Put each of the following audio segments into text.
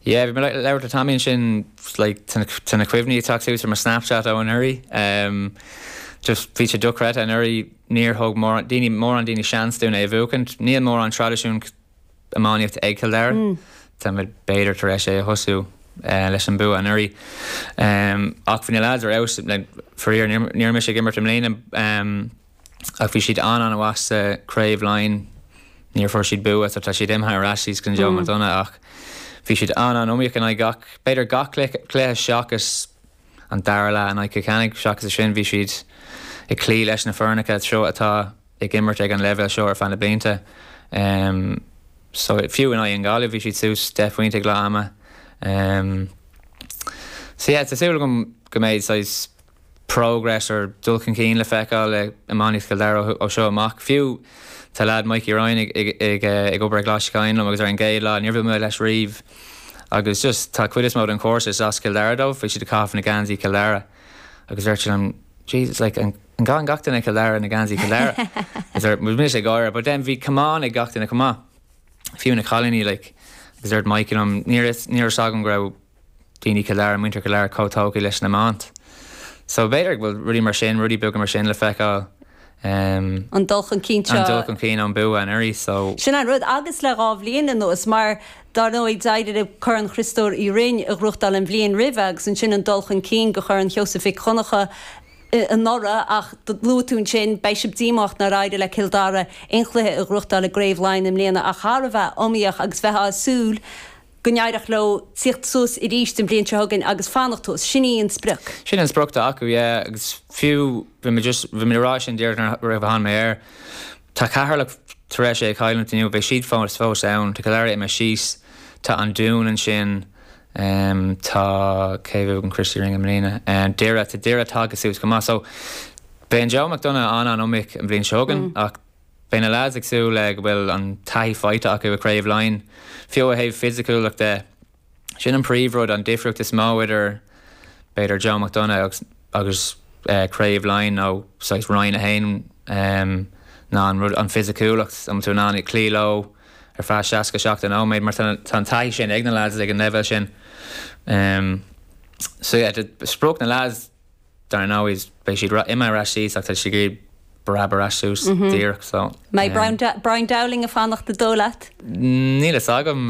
Yeah, bhí mé ag labhairt le Tommy ansin, like, tá na cuimhní ag teacht suas ar mo Snapchat ó anuraidh. Um, just bhí sé dochreidte anuraidh, níor thug mórán daoine, mórán daoine seans dúinn é a bhuachaint. Níl mórán traidisiún iománaíochta ag Cill Dara. Táimid b'fhéidir tar éis é a thosú leis an bua anuraidh. Um, ach bhí na lads ar fheabhas, like, faraor, ní raibh mise ag imirt i mbliana. Um, Ach bhí siad an-an-mhaith sa Craobh Laighean, níor fuair siad bua so tá siad imithe ar ais síos go Joe McDonagh ach bhí siad an-an-iomaíoch in aghaidh gach, b'fhéidir gach cluiche seachas an dara leath in aghaidh Cill Chainnigh, seachas sin bhí siad ag cloí leis na foirneacha seo atá ag imirt ag an leibhéal seo ar feadh na blianta. So fiú in aghaidh an Ghaillimh bhí siad suas 10 phointe ag leath ama. So yeah, tá súil agam go mbeidh saghas progress or dul chun cinn le feiceáil i iománaíocht Chill Dara ó seo amach. Fiú tá leaid Mikey Ryan ag obair ag Coláiste Choinn liom agus ar an gcéad lá níor bhuail mé leis riamh agus just tá cuid is mó den chúrsa is as Cill Dara dóibh, bhí siad ag caitheamh na geansaí Cill Dara agus dúirt sé liom Jesus like an gcaitheann gach duine Cill Dara na geansaí Cill Dara? Agus bhí mise ag gáire but then bhí camán ag gach duine chomh maith, fiú na cailíní like agus dúirt Mikey liom ní raibh fhios agam go raibh daoine Chill Dara, muintir Chill Dara chomh tógtha leis an iomáint. So b'fhéidir go bhfuil rudaí mar sin, rudaí beaga mar sin le feiceáil. An dul chun cinn seo. An dul chun cinn ón bua anuraidh so. Sin an rud, agus le 2 bhliain anuas, mar dar ndóigh d'éirigh libh Corn Chriostóir Uí Rinn a ghnóthachtáil an bhliain roimhe agus ansin an dul chun cinn go Chorn Sheosaimh Mhic Dhonncha anuraidh ach luaigh tú ansin, beidh sibh díomách nár éirigh le Cill Dara aon chluiche a ghnóthachtáil i gCraobh Laighean i mbliana ach thar a bheith iomaíoch agus bheifeá ag súil go n-éireodh leo tíocht suas arís an bhliain seo chugainn agus fanacht thuas. Sin í an sprioc. Sin an sprioc atá acu, yeah, agus fiú, bhí mé just, bhí mé ag rá sin díreach nuair a tháinig mé air, tá Ceatharlach tar éis é a chailliúint inniu, beidh siad fós, fós ann, tá Cill Dara imithe síos, tá an Dún ansin, tá, cé a bhuaigh an Christy Ring i mbliana, Doire, tá Doire tagtha suas chomh maith, so beidh an Joe McDonagh an-an-iomaíoch an bhliain seo chugainn ach, Beidh na leaids ag súil le go bhfuil an taithí faighte acu i gCraobh Laighean, fiú ó thaobh fisiciúlacht de. Sin an príomhrud, an difríocht is mó idir, b'fhéidir, Joe McDonagh agus agus Craobh Laighean nó saghas Roinn 1 ná an rud, an fisiciúlacht, an bhfuil tú in ann cloí leo ar feadh 67 nóiméad mar tá an taithí sin ag na leaids ag an leibhéal sin. So yeah, sprioc na leaids, Dar ndóigh, beidh siad imithe ar ais síos ach tá siad ag iarraidh preab ar ais suas díreach so. Mbeidh Brian Dowling ag fanacht an dóigh leat? Níl fhios agam,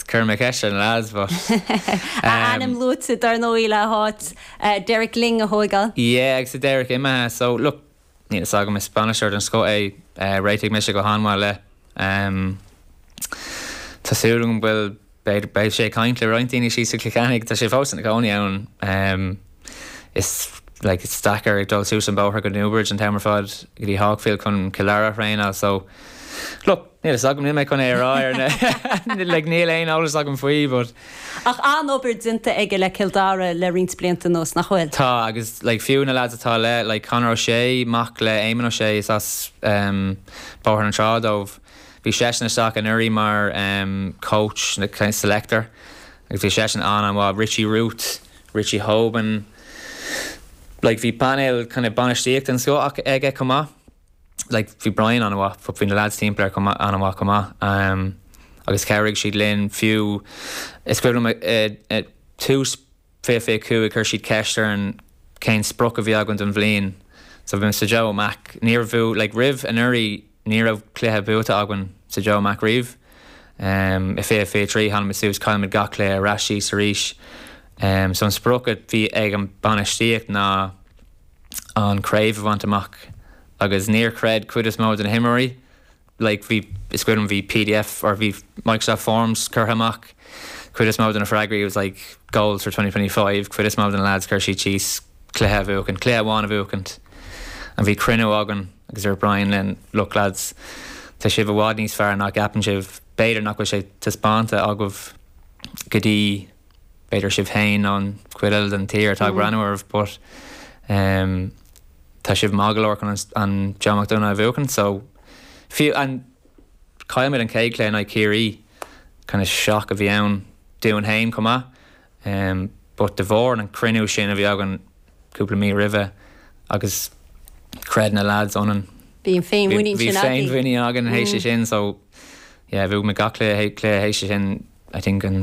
cuirfidh mé ceist ar na lads but. A ainm luaite dar ndóigh le háit Derek Lyng a thóigeáil. Yeah agus tá Derek imithe so look níl fhios agam, is bainisteoir den scoth é, réitigh mise go han-mhaith le. Tá súil agam go bhfuil B'fhéidir, beidh sé ag caint le roinnt daoine síos i gCill Chainnigh, tá sé fós ina chónaí ann. Is like is deacair ag dul suas an bóthar go Newbridge an t-am ar fad go dtí Hawkfield chun Cill Dara a thraenáil so look, níl fhios agam, níl mé chun é a rá ar na like níl aon eolas agam faoi but. Ach an-obair déanta aige le Cill Dara le roinnt blianta anuas, nach bhfuil? Tá, agus like fiú na lads atá le, like Conor O'Shea, mac le Éamon O'Shea, is as Bóthar na Trá dóibh. Bhí seisean isteach anuraidh mar coach nó kind of selector agus bhí seisean an-an-mhaith. Richie Ruth, Richie Hoban, like bhí painéal kind of bainistíochta den scoth aige chomh maith. Like bhí Brian an-mhaith but bhí na lads timpeall air chomh maith an-mhaith chomh maith. Agus chabhraigh siad linn fiú is cuimhin liom i tús 2025, chuir siad ceist orainn cén sprioc a bhí againn don bhliain. So bhí sa Joe Mac, níor bhuaigh, like roimh anuraidh ní raibh cluiche buaite againn sa Joe Mac riamh. Um, i 2023 tháinig muid suas, chaill muid gach cluiche ar ais síos arís. Um, so an sprioc a bhí ag an bainistíocht ná an craobh a bhaint amach agus níor chreid cuid is mó de na himreoirí like bhí, is cuimhin liom bhí pdf or bhí Microsoft Forms curtha amach, cuid is mó de na freagraí it was like goals for 2025, cuid is mó de na lads chuir siad síos cluiche a bhuachaint, cluiche amháin a bhuachaint and bhí cruinniú againn agus dúirt Brian linn look lads tá sibh i bhfad níos fearr ná gceapann sibh, b'fhéidir nach bhfuil sé taispeánta agaibh go dtí b'fhéidir sibh féin nó an chuid eile den tír atá ag breathnú oraibh but um, Tá sibh maith go leor chun an Joe McDonagh a bhuachan so fiú an chaill muid an chéad chluiche in aghaidh Ciarraí kind of shock a bhí ann dúinn féin chomh maith um, but de bharr an cruinniú sin a bhí againn cúpla mí roimhe agus chreid na lads ionainn. Bhí an féinmhuinín sin againn. Bhí féinmhuinín againn théis sin so yeah bhuaigh muid gach cluiche théis sin I think an.